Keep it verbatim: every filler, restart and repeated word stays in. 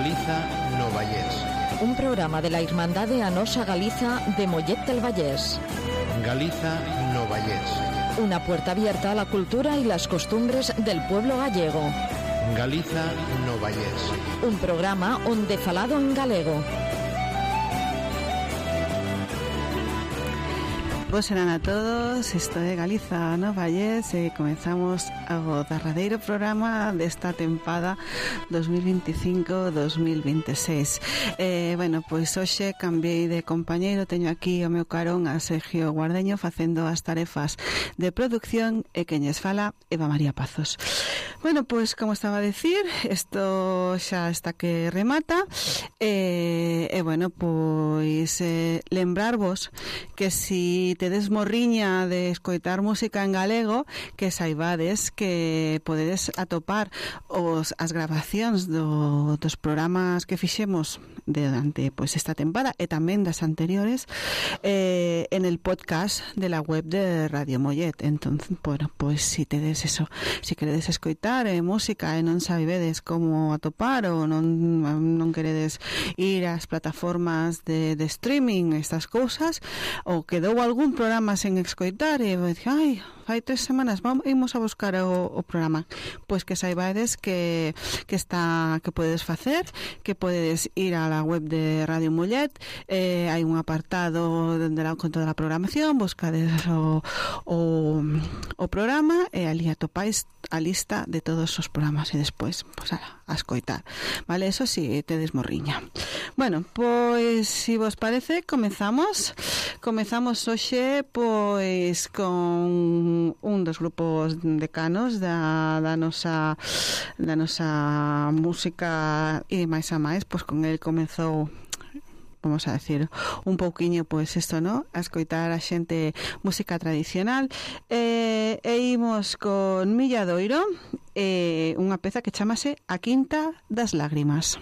Galiza no Vallés. Un programa de la Irmandade A Nosa Galiza de Mollet del Vallés. Galiza no Vallés. Una puerta abierta a la cultura y las costumbres del pueblo gallego. Galiza no Vallés. Un programa onde falado en galego. Boas serán a todos, isto é Galiza no Vallés e comenzamos o derradeiro programa desta tempada dos mil veinticinco dos mil veintiséis. Eh, bueno, pois hoxe cambiei de compañeiro, teño aquí o meu carón a Sergio Guardeño facendo as tarefas de producción e queñes fala Eva María Pazos. Bueno, pois como estaba a decir, isto xa está que remata e, e bueno, pois eh, lembrarvos que si tedes morriña de escoitar música en galego, que saibades que podedes atopar os as grabacións do, dos programas que fixemos durante pois esta tempada e tamén das anteriores eh, en el podcast de la web de Radio Mollet. Entonces, bueno, pois si tedes eso, si queredes escoitar eh, música e non sabedes como atopar ou non, non queredes ir ás plataformas de, de streaming, estas cousas, ou quedou algún programa sen escoitar e vou dicir, ai, fai tres semanas vamos, imos a buscar o, o programa, pois que saibades que, que está, que podedes facer, que podedes ir a la web de Radio Mollet, eh, hai un apartado donde la con toda a programación, buscades o, o, o programa e ali atopáis a lista de todos os programas e despois, pois, ala, a escoitar, vale, eso si sí, tedes morriña. Bueno, pois, si vos parece, comezamos comezamos hoxe, pois, con un dos grupos decanos da, da nosa da nosa música e máis a máis, pois con el comezou, vamos a decir, un pouquiño, pois isto, no? A escoitar a xente música tradicional. E, e imos con Milladoiro, e unha peza que chamase A Quinta das Lágrimas.